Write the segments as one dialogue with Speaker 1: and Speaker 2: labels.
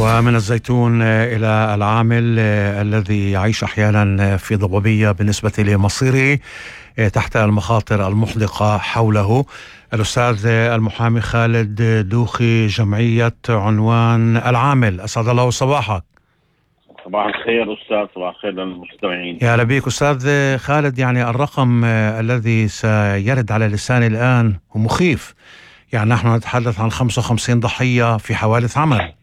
Speaker 1: ومن الزيتون إلى العامل الذي يعيش أحيانا في ضبابية بالنسبة لمصيره تحت المخاطر المحدقة حوله. الأستاذ المحامي خالد دوخي، جمعية عنوان العامل، أسعد الله صباحك.
Speaker 2: صباح الخير أستاذ، صباح الخير للمستمعين.
Speaker 1: يا هلا بيك أستاذ خالد. يعني الرقم الذي سيرد على لساني الآن هو مخيف. يعني نحن نتحدث عن 55 ضحية في حوادث عمل.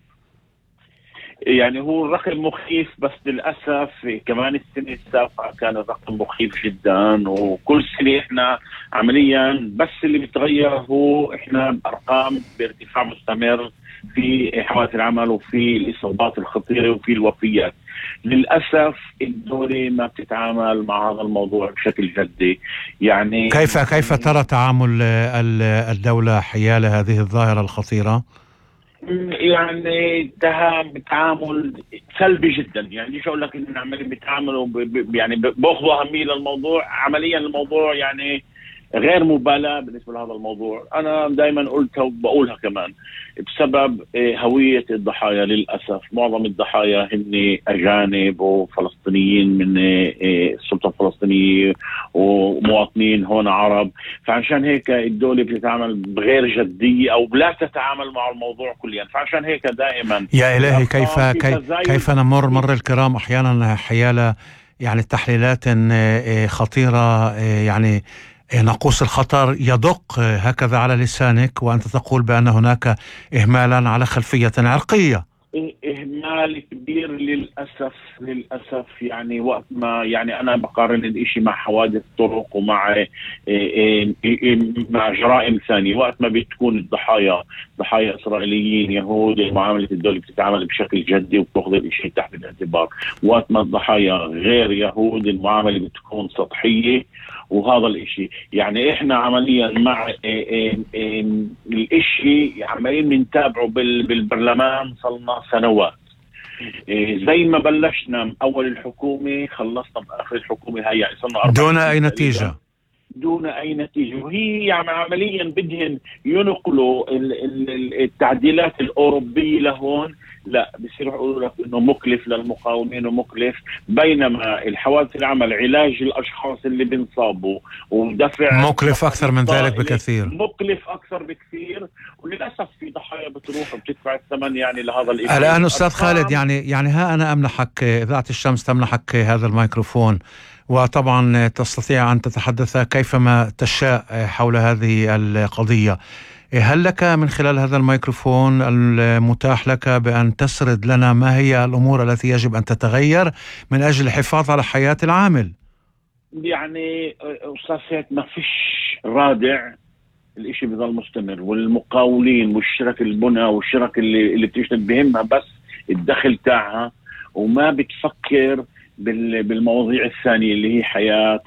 Speaker 2: يعني هو الرقم مخيف، بس للأسف كمان السنة السابقة كان الرقم مخيف جدا، وكل سنة احنا عمليا بس اللي بيتغير هو احنا بأرقام بارتفاع مستمر في حوادث العمل وفي الإصابات الخطيرة وفي الوفيات. للأسف الدولة ما بتتعامل مع هذا الموضوع بشكل جدي. يعني
Speaker 1: كيف ترى تعامل الدولة حيال هذه الظاهرة الخطيرة؟
Speaker 2: يعني تعامل سلبي جدا. يعني شو اقول لك، ان عمالين بيتعاملوا يعني باخذوا اهميه للموضوع. عمليا الموضوع يعني غير مبالاه بالنسبه لهذا الموضوع. انا دائما قلتها وبقولها كمان، بسبب هويه الضحايا. للاسف معظم الضحايا هن اجانب وفلسطينيين من السلطه الفلسطينيه ومواطنين هون عرب، فعشان هيك الدوله بتتعامل بغير جديه او لا تتعامل مع الموضوع كليا. فعشان هيك دائما
Speaker 1: يا الهي كيف نمر مر الكرام احيانا حيال يعني تحليلات خطيره، يعني ناقوس الخطر يدق هكذا على لسانك وأنت تقول بأن هناك إهمالا على خلفية عرقية.
Speaker 2: إهمال كبير للأسف. يعني وقت ما يعني أنا بقارن الإشي مع حوادث طرق ومع مع جرائم ثانية. وقت ما بتكون الضحايا ضحايا إسرائيليين يهود، معاملة الدولة بتتعامل بشكل جدي وبتأخذ الإشي تحت الاعتبار. وقت ما الضحايا غير يهود المعاملة بتكون سطحية. وهذا الاشي يعني احنا عمليا مع الاشي عمالين نتابعه بالبرلمان صلنا سنوات. زي ما بلشنا اول الحكومة خلصنا باخر الحكومة هاي، يعني صرنا
Speaker 1: دون اي نتيجة.
Speaker 2: وهي يعني عمليا بدهم ينقلوا التعديلات الأوروبية لهون. لا، بيصيروا يقولوا لك انه مكلف للمقاومين ومكلف، بينما الحوادث العمل علاج الاشخاص اللي بنصابوا ودفع
Speaker 1: مكلف اكثر من ذلك بكثير.
Speaker 2: مكلف اكثر بكثير، وللاسف في ضحايا بتروح وبتدفع الثمن يعني لهذا الاشي.
Speaker 1: الان استاذ خالد، يعني ها انا امنحك اذاعة الشمس، تمنحك هذا الميكروفون، وطبعا تستطيع أن تتحدث كيفما تشاء حول هذه القضية. هل لك من خلال هذا الميكروفون المتاح لك بأن تسرد لنا ما هي الأمور التي يجب أن تتغير من أجل الحفاظ على حياة العامل؟
Speaker 2: يعني أستاذ سيد، ما فيش رادع، الإشي بيظل مستمر، والمقاولين والشرك البنى والشرك اللي بتشتغل بهمها بس الدخل تاعها، وما بتفكر بالمواضيع الثانية اللي هي حياة